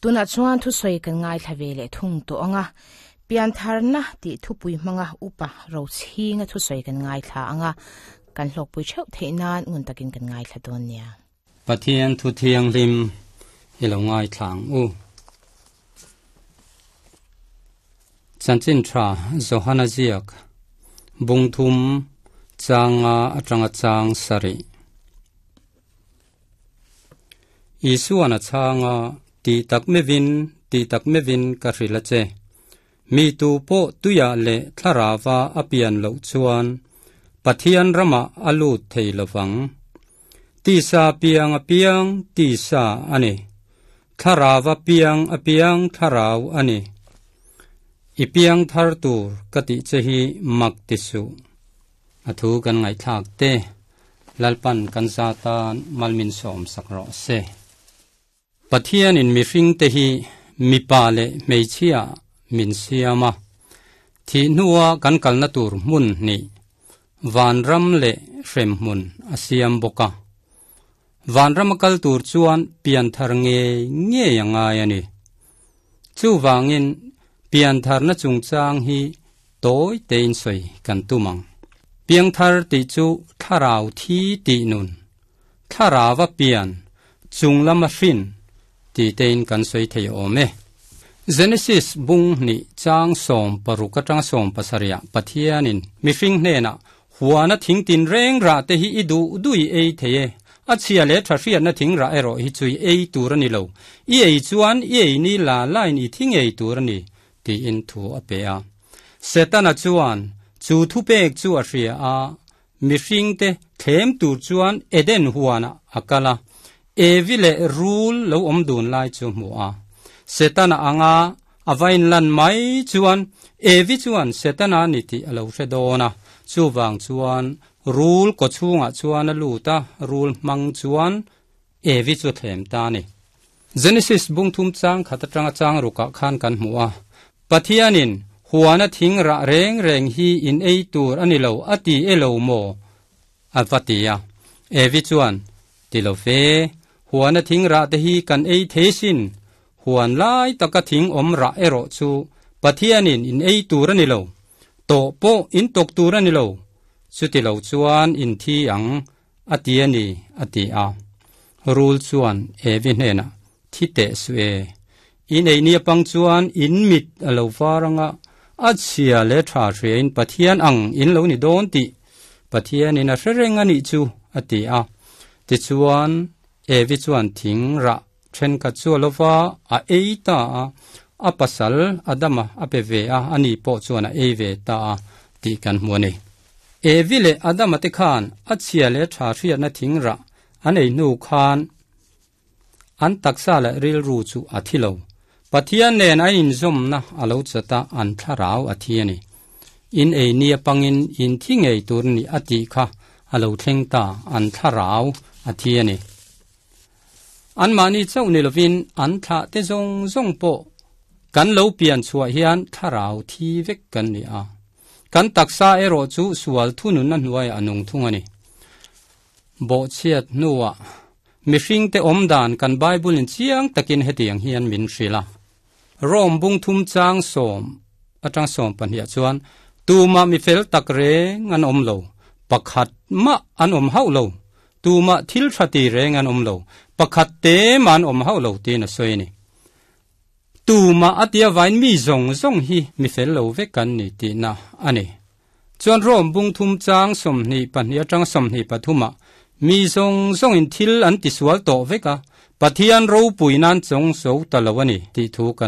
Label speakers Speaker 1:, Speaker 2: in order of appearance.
Speaker 1: Tunah chuan thusawi kan ngaithla ve leh thung tawh ang a, Piantharna tih thupui hmanga upa Rochhinga thusawi kan ngaithla ang a, kan hlawkpui theuh theih nan ngun takin kan ngaithla dawn nia.
Speaker 2: Pathian thu thianghlim i lo ngaithla ang u. Chanchin tha Johana ziak bung thum changa atanga chang sarih. Isuan a chhang a, Ti tak mevin, ti tak mevin ka hrilh a che. Mi tu pawh tuiah leh thlarauva a pian loh chuan Pathian ramah a lut thei lo vang. Tisa piang a piang tisa a ni. Thlarauva piang a piang thlarau a ni. I piang thar tur ka tih che hi mak ti suh. A thu kan ngaihthlak te, Lalpan kan za tan malmin sawm sak rawh se. Pathianin mihringte hi mipa leh hmeichhia min siam a, thih hnua kan kalna tur hmun hnih, vanram leh hremhmun a siam bawk a. Vanrama kal tur chuan pianthar ngei ngei a ngai a ni. Chuvangin piantharna chungchang hi tawi tein sawi kan tum ang. Piangthar tih chu thlarau thi tih nun, thlarauva pian, chung lama hrin tih tein kan sawi thei awm e. Genesis bung hnih chang 16 atanga 17 ah Pathianin mihring hnenah Huana thing tin reng rah te hi i duh duh i ei thei e. A chhia leh tha hriatna thing rah erawh hi chu i ei tur a ni lo. I ei chuan i ei ni la lain i thi ngei tur a ni, tiin thu a pe a. Setana chuan chu thupek chu a hria a, mihringte thlem tur chuan Eden huanah a kal a, Evi leh Rul lo awm dun lai chu hmu a. Setana anga A va inlan mai chuan Evi chuan Setana ni tih a lo hre dawn a, chuvang chuan rul kaw chhungah chuan a lut a, rul hmang chuan Evi chu a thlem ta a ni. Genesis bung thum chang khat atanga chang rukah khan kan hmu a, Pathianin huana thing rah reng reng hi in ei tur a ni lo a ti e lo maw? A va ti a. Evi chuan, Ti lo fe, huana thing rah te hi kan ei thei sin, Huan lai taka thing awm rah erawh chu Pathianin in ei tur a ni lo, tawh pawh in tawk tur a ni lo, chuti lo chuan in thi ang, a ti a ni, a ti a. Rul chuan Evi hnenah, Thi teh suh e, in ei nia pang chuan in mit a lo var anga, a chhia leh tha hriain Pathian ang in lo ni dawn tih Pathianin a hre reng a nih chu, a ti a. Tichuan, Evi chuan thing rah Thenkhat chu a lo va, a ei ta a, a pasal Adama a pe ve a, ani pawh chuan a ei ve ta a tih kan hmu a ni. Evi leh Adama te khan a chhia leh tha hriatna thing rah an ei hnu khan an taksa leh rilru chu a thi lo. Pathian nen an inzawmna a lo chat a, an thlarau a thi a ni. In ei nia pangin in thi ngei tur a ni a tih kha a lo thleng ta, an thlarau a thi a ni. Anmahni chauh ni lovin an thlah te zawng zawng pawh kan lo pian chhuah hian thlarau thi vek kan ni a. Kan taksa erawh chu sual thununna hnuaiah a nung thung a ni. Bawhchhiat hnuah mihringte awm dan kan Bible-in chiang takin hetiang hian min hrilh a. Rome bung thum chang sawm atang sawm pahniah chuan tumah mi fel tak reng an awm lo, pakhat mah an awm hauh lo, tumah thil tha ti reng an awm lo, pakhat te mah an awm hauh lo tiin a sawi a ni. Tumah a tia vain mi zawng zawng hi mi fel lo vek an ni tihna a ni. Chuan Rome bung thum chang 22 atang 23 ah mi zawng zawngin thil an tisual tawh vek a, Pathian ropui nan chawng so ta lo a ni tih thu kan.